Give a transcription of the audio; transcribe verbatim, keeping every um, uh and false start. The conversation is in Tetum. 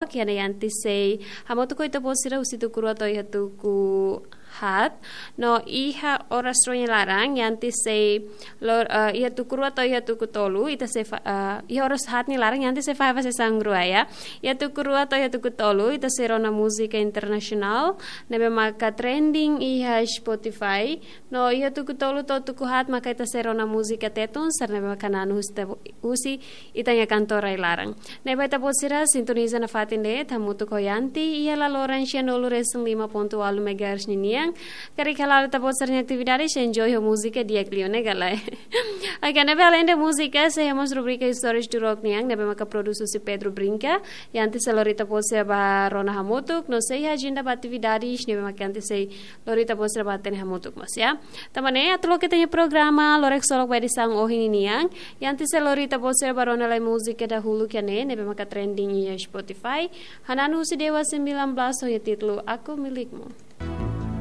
Kiana Yanti sei hamutuk ho ita-boot sira husi tuku rua to'o iha tuku haat. No iha oras rua nia laran Yanti sei lor, eh, iha tuku rua to'o iha tuku tolu, ita sei fa-, eh, iha oras haat nia laran Yanti sei fahe fase sang rua ya. Iha tuku rua to'o iha tuku tolu, ita sei rona múzika internasionál ne'ebé maka trending iha Spotify. No iha tuku tolu to'o tuku haat maka ita sei rona múzika Tetun, sira ne'ebé maka hananu husi, husi ita-nia kantora rai-laran. Ne'ebé ita-boot sira sintoniza nafatin de'it hamutuk ho Yanti iha laloran sianulu resin lima pontu ualu megahertz ninian. Karik hala'o ita-boot sira-nia atividade sei enjoy ho múzika di'ak liu ne'e ka lae. Oke, ne'ebé além de múzika, sei iha mós rubrika Histórias do Rock nian, ne'ebé maka produs husi Pedro Brinca. Yanti sei lori ita-boot sira ba rona hamutuk, no sei iha ajenda ba atividades, ne'ebé maka Yanti sei lori ita-boot sira ba hatene hamutuk mós ya. Tanba ne'e, atu loke ita-nia programa, lorokraik ksolok ba edisaun ohin ninian. Yanti sei lori ita-boot sira ba rona lai múzika dahuluk iha ne'e, ne'ebé maka trending iha Spotify. Hananu husi Dewa sembilan belas ho iha títulu Aku Milikmu.